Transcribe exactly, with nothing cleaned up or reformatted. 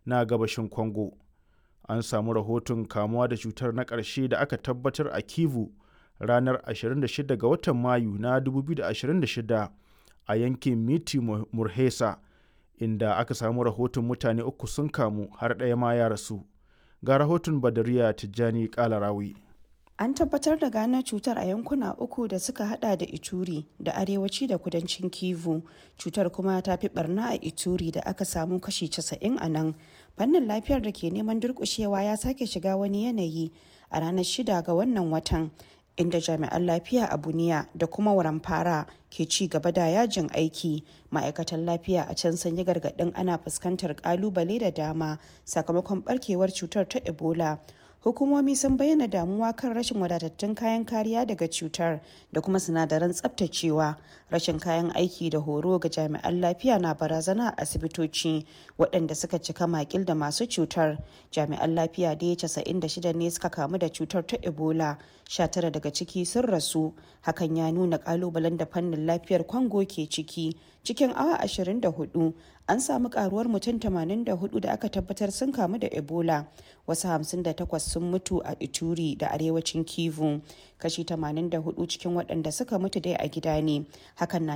na gabashin Congo. An samu rahoton kamuwa da cutar na ƙarshe da aka tabbatar a Kivu ranar ashirin da shida ga watan Mayu na dubu biyu da ashirin da shida a yankin Miti Murhesa, inda aka samu rahoton mutane uku sun kamu, har ɗaya ma ya rasu. Ga rahoton Badariya Tijjani Kalarawi. An tabbatar da gano cutar a yankuna uku da suka hada da Ituri da arewaci da kudancin Kivu. Cutar kuma ta fi barna a Ituri da aka samu kashi casa'in a nan. Fannin lafiyar da ke neman durkushewa ya sake shiga wani yanayi a ranar shida ga wannan watan, inda jami'an lafiya a Buniya da kuma Waramfara ke ci gaba da yajin aiki. Ma'aikatan lafiya a can sun yi gargaɗin ana fuskantar ƙalubale da dama sakamakon barkewar cutar ta Ebola. Hukumomi sun bayyana damuwa kan rashin wadatattun kayan kariya daga cutar da kuma sinadaran tsabtacewa. Rashin kayan aiki da horo ga jami'an lafiya na barazana a asibitoci waɗanda suka cika makil da masu cutar. Jami'an lafiya da casa'in da shida ne suka kamu da cutar ta Ebola, sha tara daga ciki sun rasu. Hakan ya nuna kalubalen da fannin lafiyar Kwango ke ciki. Cikin awa ashirin da huɗu an samu karuwar mutum tamanin da huɗu da aka tabbatar sun kamu da Ebola. Wasu hamsin da takwas sun mutu a Ituri da arewacin Kivu. Kashi tamanin da huɗu cikin waɗanda suka mutu dai a gida ne. Hakan na